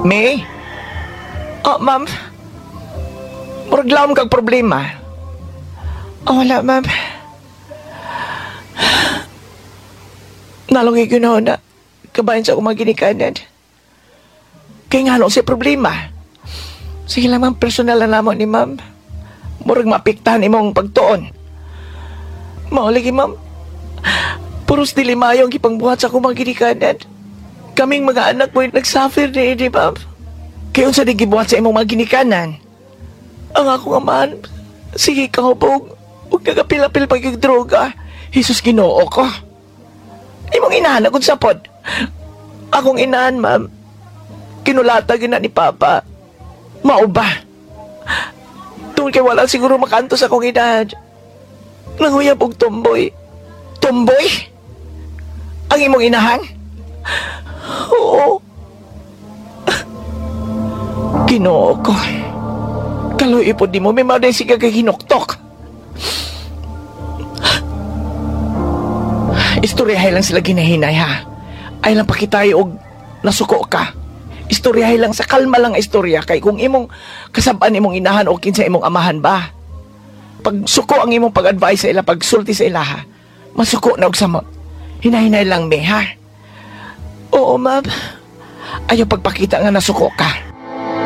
May? Oh, ma'am. Murag lawom kag problema. Oh, wala, ma'am. Nalungay ko na kabayan sa akong mga ginikanan. Kaya nga siya problema. Sige lang, ma'am, personal na namo ni ma'am. Murag maapektahan imong pagtuon. Mauligi, ma'am. Puros dili maayo ang gipangbuhat sa akong mga ginikanan. Kaming mga anak mo nagsuffer ni ini, ma'am. Kaya unsa di gibuhat sa imong mga ginikanan? Ang akong amahan, sige kahubog, ug nagapil-apil pag yung droga. Jesus, Ginoo ko. Imong inahan akong sapod. Akong inahan, ma'am. Kinulata gina ni Papa. Mao ba? Tungod kay wala siguro makanto sa akong inahan. Nanguyab og tomboy. Tomboy? Ang imong inahan? Oo. Ginoo ko. Kaluoy po di mo, may mga siga kay hinuktok. Istoryahay lang sila ginahinay ha. Ay lang pakitayo og nasuko ka. Istoryahay lang sa kalma lang ang istorya kay kung imong kasab-an imong inahan o kinsa imong amahan ba. Pag suko ang imong pag-advise sa ila, pagsulti sa ila ha, masuko na og samot. Hinahinay lang me ha. Oo, ma'am. Ayaw pagpakita nga nasuko ka.